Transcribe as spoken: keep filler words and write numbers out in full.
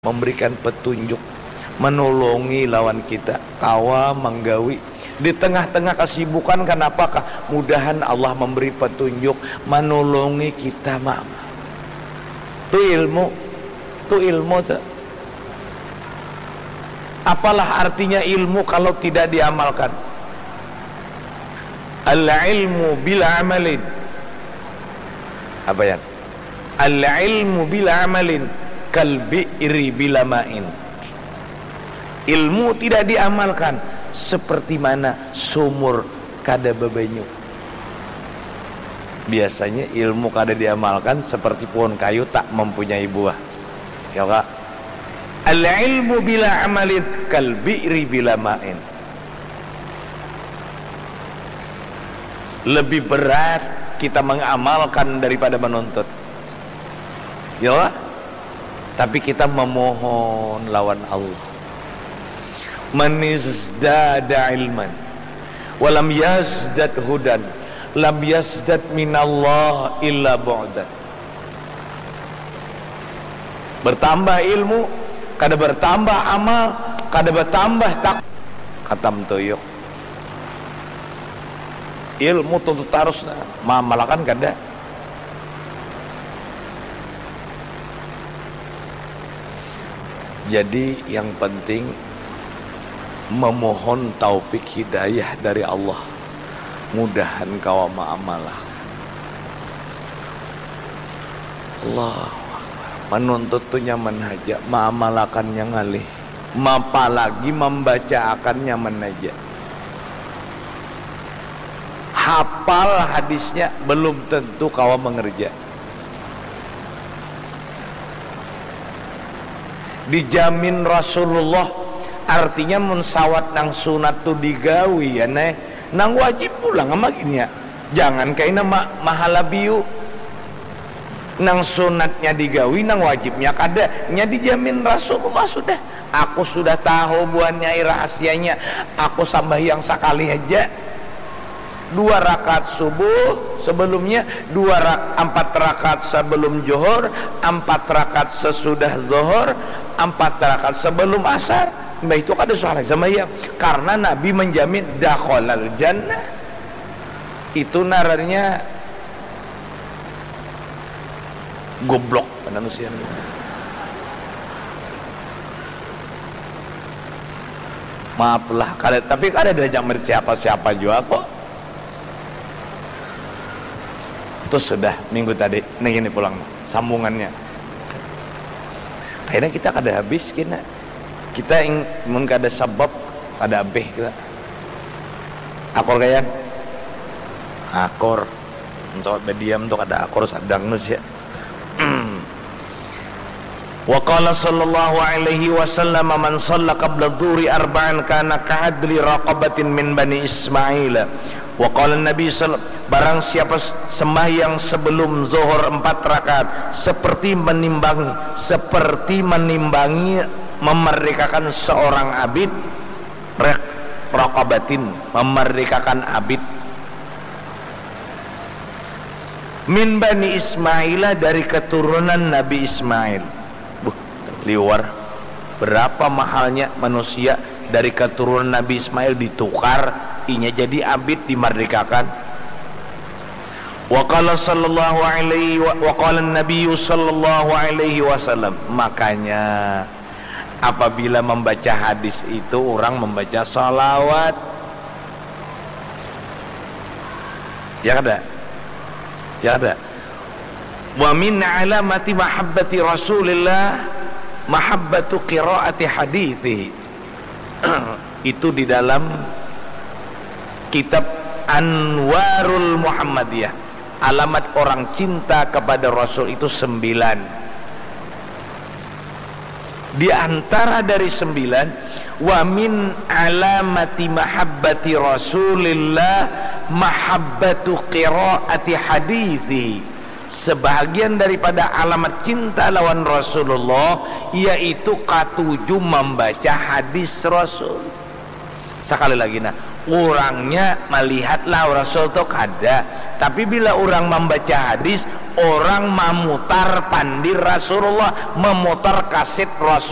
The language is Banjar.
memberikan petunjuk, menolongi lawan kita kawa manggawi di tengah-tengah kesibukan. Kenapakah? Mudahan Allah memberi petunjuk, menolongi kita, Mama. Tu ilmu, tu ilmu tu. Apalah artinya ilmu kalau tidak diamalkan? Al ilmu bila amalin. Apa ya? Al ilmu bila amalin kal bi'ri bila ma'in. Ilmu tidak diamalkan seperti mana sumur kada bebanyu. Biasanya ilmu kada diamalkan seperti pohon kayu tak mempunyai buah. Ya, Kak? Al ilmu bila amalin kal bi'ri bila ma'in. Lebih berat kita mengamalkan daripada menuntut. Ya, tapi kita memohon lawan Allah. Manizdada ilman walam yazdad hudan lam yazdad minallah illa bu'dan. Bertambah ilmu, kada bertambah amal, kada bertambah tak katam tuyuk. Ilmu tuntut tarus, nah, mamalakan kada. Jadi yang penting memohon taufik hidayah dari Allah, mudahan kawa maamalakan. Allahu Akbar. Menuntut tu nyaman haja, maamalakannya ngalih. Mapalagi mambacaakan nyaman haja. Hapal hadisnya belum tentu kawa mengerja. Dijamin Rasulullah, artinya mun sawat nang sunat tu digawi ya neh, nang wajib pulang ama gin ya. Jangan kaina ma mahalabiu. Nang sunatnya digawi, nang wajibnya kada. Nya dijamin Rasulullah sudah. Aku sudah tahu buhan nyai rahasianya. Aku sambahyang sakali haja. Dua rakaat subuh sebelumnya, dua rak, ampat rakaat sebelum johor, ampat rakaat sesudah zohor, ampat rakaat sebelum asar. Mbah itu kada suah lagi sambahyang. Karena Nabi menjamin dakhalal jannah. Itu narannya goblok manusia. Maaf lah, kada, tapi kada ada jam siapa-siapa jua kok. Terus sudah minggu tadi, nih gini pulang sambungannya. Akhirnya kita kada habis kena. Kita ing, mun kada sabab, kada abih kita. Akor kaya? Akor. Mun sawat badiam tu kada akor sadang tu sia. Wa qala sallallahu alaihi wasallam, "Man shalla qabla dhuhri arba'an kana ka'adli raqabatin min bani Ismail." Wa qala Nabi sal-, barang siapa s-, sembahyang sebelum zuhur empat rakaat seperti menimbangi, seperti menimbangi memerdekakan seorang abid, rek-, raqabatin, memerdekakan abid. Min bani Ismaila, dari keturunan Nabi Ismail. Buh, liwar. Berapa mahalnya manusia dari keturunan Nabi Ismail ditukar, inya jadi abid, dimerdekakan. Wa qala sallallahu alaihi wa, wa qala Nabiyyu sallallahu alaihi wasallam. Makanya, apabila membaca hadis itu, orang membaca salawat. Ya kada? Ya kada? Wa min alamati mahabbati Rasulillah mahabbatu qiraati hadithi. Itu di dalam kitab Anwarul Muhammadiyah. Alamat orang cinta kepada Rasul itu sembilan. Di antara dari sembilan, wa min alamati mahabbati Rasulillah mahabbatu qiraati hadithi. Sebahagian daripada alamat cinta lawan Rasulullah yaitu katuju membaca hadis Rasul. Sekali lagi, nah, Urangnya malihat lah Rasul tu kada, tapi bila urang mambaca hadis, urang mamutar pandir Rasulullah, mamutar kasit Rasul.